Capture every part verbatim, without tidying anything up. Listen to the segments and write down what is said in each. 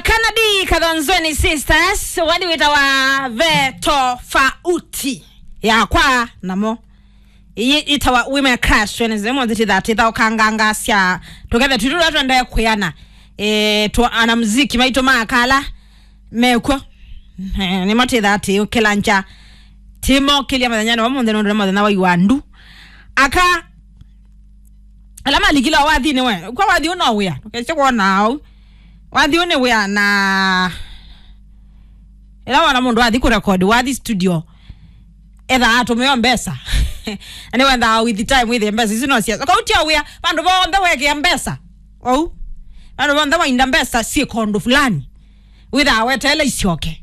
Kanadi Kathonzweni Sisters, wadi wĩtawa Ve Tofauti Yakwa namo. Ĩĩ ĩtawa Women Crush, twenty-seven, tũtithaa tũkanganga sya tũkethe twitũ tũla tũendee kwĩana. Eh, twa anamuziki maitũ ma kala mekw'o. Eh, nĩmo tũtithaa tũkĩlangya. Tũmokĩlya mũthenya nĩ wa mũnthĩ nũndũ nĩ mũthenya wa iwandu. Aka Ala malikila wathinĩ we. Kwa wathi ũno wĩa. Ndũkese kwona au. Wathi ũnĩ wĩa na ĩla wona mũndũ athi kũrekodi, wathi studio. Etha atũmĩo mbesa. Ani wenda with the time with the mbesa. Ici no cia. Kwa utia wĩa. Vandu vonthe wekea mbesa. Au. Vandu vonthe wainda mbesa si kondo fulani. Wĩthaa weteele isyoke.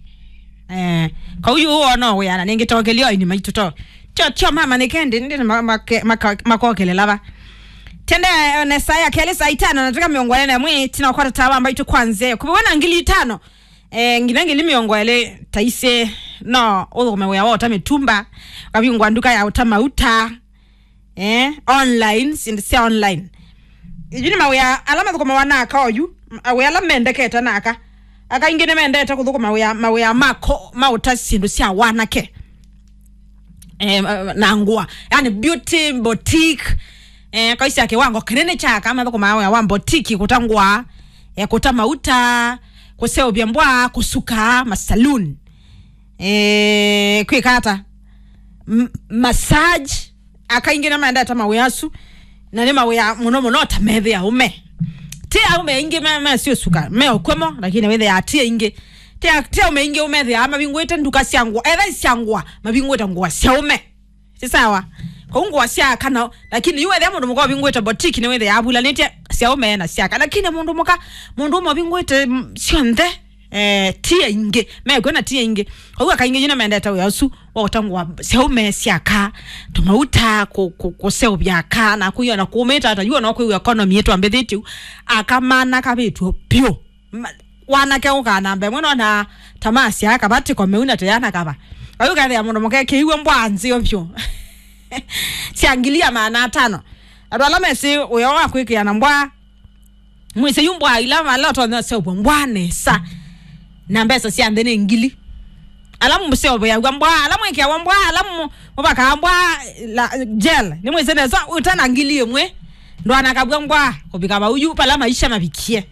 Eh, kau yu wona wĩa na nĩngĩ tokelio aini maitũ to. Tio, tio mama nĩ kendi, ndi ma-, make-, maka-, makokelela va. Tende, eh, ne saa ya kelĩ saa itano na dakika mĩongo ĩlĩ na ĩmwe, tina kwata tawa mbaitũ kwanze. Kubiwe na ngili itano. Eh, nginya ngili mĩongo ĩlĩ taise no ũthũkũme wĩa wa ũta mĩtumba. Kavingwa nduka ya ũta mauta. Eh, online, syĩndũ sya online. Yu nĩ mawĩa ala mathũkũmawa na aka oyu, mawĩa ala mendekete na aka. Aka aingĩ nĩmendete kũthũkũma wĩa, mawĩa mako, maũta syĩndũ sya wanake. Eh, na ngũa. Yani beauty, boutique. Eh, kaisya kiwango kĩnene kya aka mathũkũmaa wĩa wa boutique, kũta ngũa, eh, kũta mauta, kũseũvya mbwa, kũsuka, masaloon. Eh, kwĩka ata? M-, massage. Aka aingĩ nĩmendete mawĩa asu, na nĩ mawĩa mũno mũno ta methĩa ũme. Ti aume aingĩ me-, mesiũsuka, me ũkwemo, lakini wĩthĩa ti aingĩ. Ti a-, ti aume aingĩ ũmethĩa mavingũĩte nduka sya ngũa, etha sya ngũa, mavingũĩte ngũa sya ũme. Si sawa? Kau ngũa sya aka nao, lakini yu wethĩa mũndũ mũka ũvingũĩte boutique nĩ wĩthĩa avulanĩtye sya ũme na sya aka. Lakini mũndũ mũka, mũndũ ũme ũvingũĩte, mm, syonthe, eh, ti aingĩ. Mekw'o na ti aingĩ. Kau aka aingĩ yu nĩmendete wĩa ũsu. Waũta ngũa syaũme syaka, tũmauta kũ-, kũ-, kũseũvya aka, na kũiona kũmĩte ata, yu ona kwĩw'a economy ĩtwambĩthĩtye yu, aka mana kavĩtw'e vyũ. Ma-, wanake ũkaa namba ĩmwe nona tamaa sya aka, vatiko meuna tũyana kava. Oyu kethĩa mũndũ mũke kĩiw'e mbwa nzeo vyũ. Sya ngili ya maana atano. Andũ ala mesĩ wĩa wa kwĩkĩa na mbwa, Mwĩsĩ yu mbwa ila vala ũtonya ũseũvwa mbwa nesa. Na mbesa sya nthĩ nĩ ngili. Ala mũseũvĩaw'a mbwa, ala mwĩkĩawa mbwa, ala mũ-, mũvakaa mbwa la, gel. Nĩ mwĩsĩ nesa ũtana ngili ĩmwe. Ndwanakavw'a mbwa kũvika vau yu pala maisha mavikie.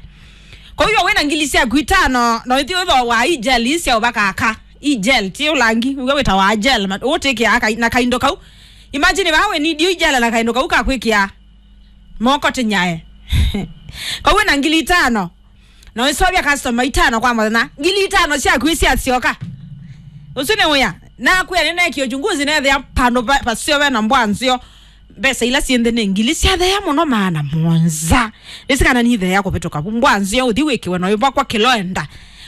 Kwa hiyo wĩna ngili syaku itano, no ithi ũthooa i gel ii sya ũvaka aka. I gel, ti ũlangi, ũw'a wĩtawa gel, ma-, ũtĩkĩa aka-, na kaindo kau. Imagine vaa wĩ need i gel na kaindo kau ka kwĩkĩa moko tinyae. Kau wĩna ngili itano. Na wĩsovya customer itano kwa mũthenya. Ngili itano syaku isyasyoka. Ũsu nĩ wĩa. Nakwĩa nĩneekie uchunguzi nethĩa pandũ va-, vaseo ve na mbwa nzeo. Mbesa ila syĩ nthĩ nĩ ngili syatheea mũno maana mũonza. Nĩsĩ kana nitheea kũvĩtũka vu. Mbwa nzeo ũthi wĩkĩwe na ũivakwa kĩloenda.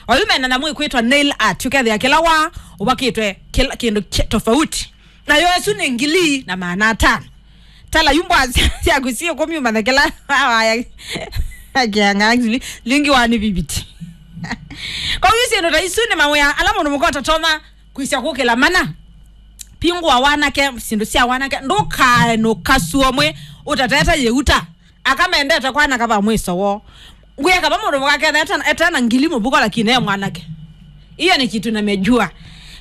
Oyu mena na mwĩkwĩtwa nail art. Ũkethĩa kĩla wa ũvakĩtwe kĩla kĩndũ kĩ-, tofauti. Nayo ĩsu nĩ ngili na maana atano. Tala yu mbwa sya-, syaku syĩ kũmi ũmanye kĩla waya kĩanga ngili lingi wa nĩ viviti. Kwa hiyo syĩndũ ta isu nĩ mawĩa ala mũndũ mũka ũtatonya kwĩsya kũkĩla mana. Pingũa wanake, syĩndũ sya wanake, ndũkae nũkasuo mwe ũtatete yĩuta. Aka mendete kwanaka va mwĩso woo. Ngwĩa kava mũndũ mũka ketha etana, etana ngili mũvuko lakini e mwanake. Iyo ni kitu namejua.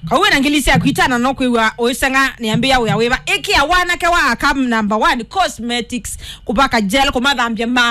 Kwa uwe na ngili syaku itano no kwĩw'a ũiseng'a nĩambĩa wĩa wĩva. Ĩkĩa wanake wa aka number one, cosmetics, kũvaka gel, kũmathambya ma